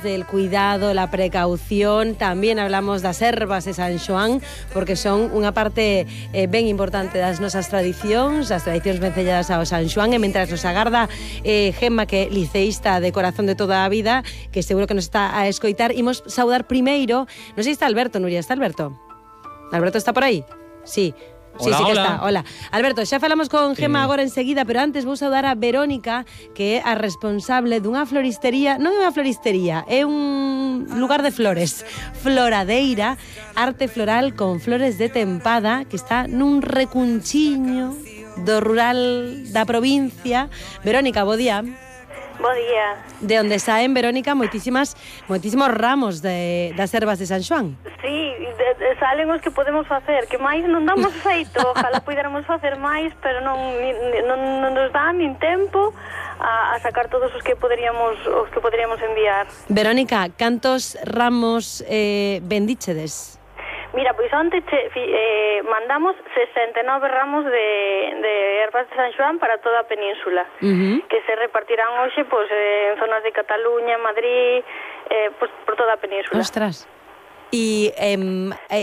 del cuidado, la precaución. Tamén hablamos das ervas de San Xoán, porque son unha parte ben importante das nosas tradicións, das tradicións vencelladas ao San Xoán, e mentras nos agarda Gemma, que é liceísta de corazón de toda a vida, que seguro que nos está a escoitar, imos saudar primeiro, non sei se está Alberto, Nuria, está Alberto? Alberto está por aí? Sí. Sí, Hola, sí que hola. está. Hola. Alberto, xa falamos con Gemma agora enseguida, pero antes vou saudar a Verónica, que é a responsable dunha floristería, non é unha floristería, é un lugar de flores, Floradeira, arte floral con flores de tempada, que está nun recunchiño do rural da provincia. Verónica, bo día. Bo día. De onde saen, Verónica, moitísimos ramos das ervas de San Xoán. Sí, salen os que podemos facer, que máis non damos feito, ojalá puidéramos facer máis, pero non nos dá nin tempo a sacar todos os que poderíamos enviar. Verónica, cantos ramos vendíchedes? Mira, pois onte mandamos 69 ramos de ervas de San Xoán para toda a península, que se repartirán hoxe en zonas de Cataluña, Madrid, por toda a península. Ostras. E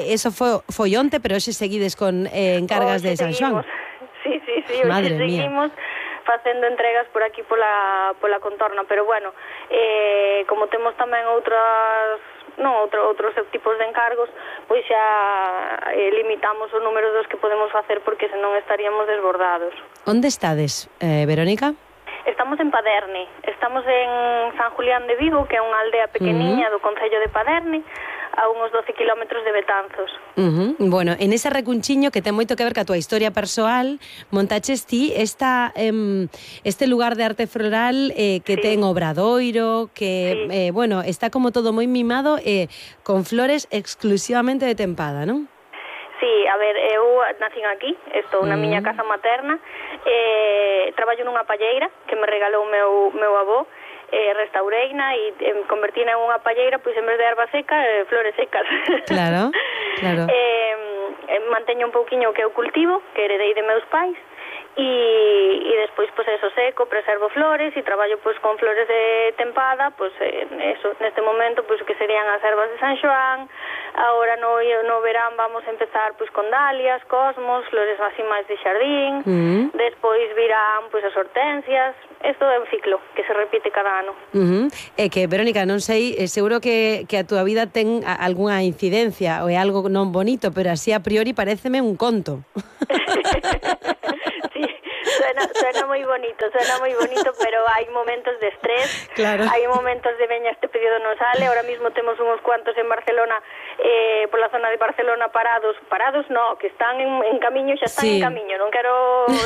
eso foi onte, pero hoxe seguides con encargas de San Xoán. Sí, hoxe seguimos facendo entregas por aquí pola contorna, pero bueno, como temos tamén outros tipos de encargos, pois xa limitamos o número dos que podemos facer, porque senón estaríamos desbordados. Onde estades, Verónica? Estamos en Paderne, estamos en San Julián de Vigo, que é unha aldea pequeniña do concello de Paderne, a unos 12 kilómetros de Betanzos. Bueno, en ese recunchiño que ten moito que ver ca tua historia persoal, montaches ti este lugar de arte floral que ten obradoiro, que, bueno, está como todo moi mimado, con flores exclusivamente de tempada, non? Sí, a ver, eu nacín aquí, estou na miña casa materna, traballo nunha palleira que me regalou meu avó, restaureina e convertina en unha palleira, pois en vez de erva seca, flores secas. Claro. Manteño un pouquiño que eu cultivo, que heredei de meus pais, e despois, pois eso, seco, preservo flores e traballo pois con flores de tempada, pois eso, neste momento, pois que serían as ervas de San Xoán. Agora no verán vamos a empezar pois con dalias, cosmos, flores así máis de xardín. Despois virán pois as hortensias. Isto é un ciclo que se repite cada ano. É que, Verónica, non sei, seguro que a túa vida ten algunha incidencia ou é algo non bonito, pero así a priori paréceme un conto. Suena moi bonito, pero hai momentos de estrés, claro. Hai momentos de veña, este pedido non sale, ahora mismo temos uns cuantos en Barcelona, pola zona de Barcelona parados no, que están en camiño, xa están en camiño, non quero